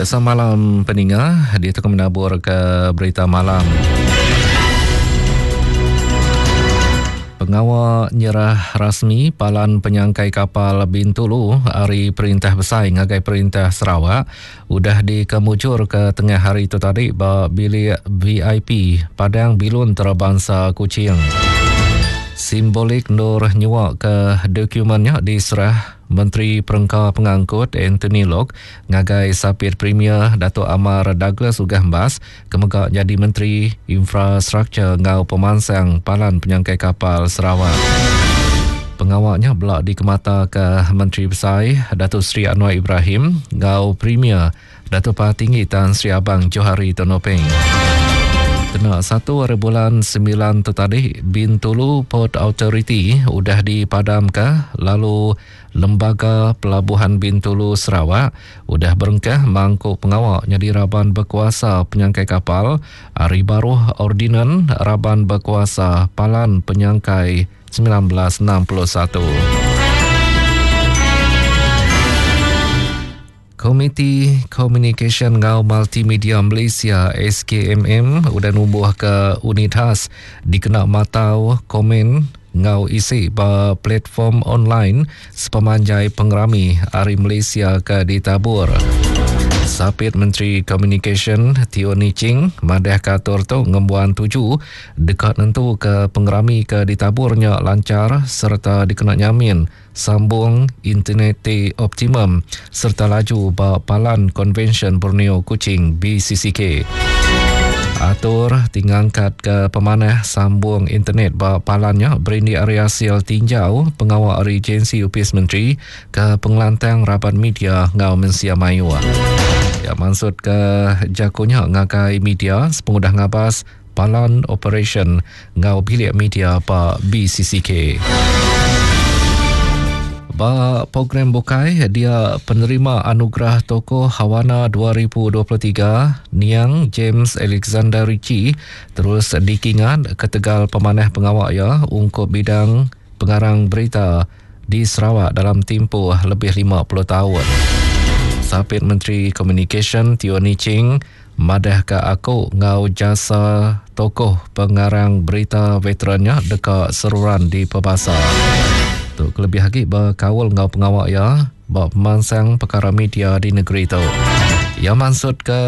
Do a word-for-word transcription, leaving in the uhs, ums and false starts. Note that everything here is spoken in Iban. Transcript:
Semalam peninga dia tu menabur ke berita malam. Pengawa nyerah rasmi Palan Penyangkai Kapal Bintulu ari Perintah Besai ngagai Perintah Sarawak udah dikemujur ke tengah hari itu tadi ba bilik V I P Padang Bilun Antarabangsa Kuching. Simbolik Nur nyuak ke dokumennya diserah Menteri Perengka Pengangkut Anthony Loke ngagai Sapit Premier Datuk Amar Douglas Uggah Embas kemega jadi Menteri Infrastruktur ngau Pemansang Palan Penyangkai Kapal Sarawak. Pengawaknya belak dikemata ke Menteri Besai Datuk Seri Anwar Ibrahim ngau Premier Datuk Patinggi Tan Sri Abang Johari Tun Openg. Kena satu hari bulan sembilan tu tadi, Bintulu Port Authority udah dipadamkan lalu Lembaga Pelabuhan Bintulu Sarawak udah berengkah mangkuk pengawak jadi raban berkuasa penyangkai kapal hari baruh ordinan raban berkuasa Palan Penyangkai sembilan belas enam puluh satu. Komiti Komunikasi Ngau Multimedia Malaysia S K M M udah numbuh ke unit khas dikena matau komen ngau isi ba platform online sepemanjai pengerami Hari Malaysia ke ditabur. Sapit Menteri Communication Teo Nie Ching madah katur tu ngembuan tuju dekat nentu ke pengerami ke ditaburnya lancar serta dikena nyamin sambung internet T optimum serta laju ba Palan Konvensyen Borneo Kuching B C C K. Atur tingangkat ke pemanah sambung internet ba palannya berindi area hasil tinjau pengawal agensi Upis Menteri ke pengelantang raban media ngau mensia mayu. Ya maksud ke jakunya ngagai media sepengudah ngabas Palan Operation ngau bilik media ba B C C K. Ba program bukai dia penerima anugerah tokoh Hawana dua ribu dua puluh tiga Niang James Alexander Ritchie terus dikingat ketegal pemanah pengawak ya ungkup bidang pengarang berita di Sarawak dalam tempoh lebih lima puluh tahun. Sapit Menteri Communication Teo Nie Ching madah ke aku ngau jasa tokoh pengarang berita veterannya dekat seruran di Pebasa. Tu kelebih lagi berkaul ngau pengawak ya bab pemansang perkara media di negeri tu. Ia maksud ke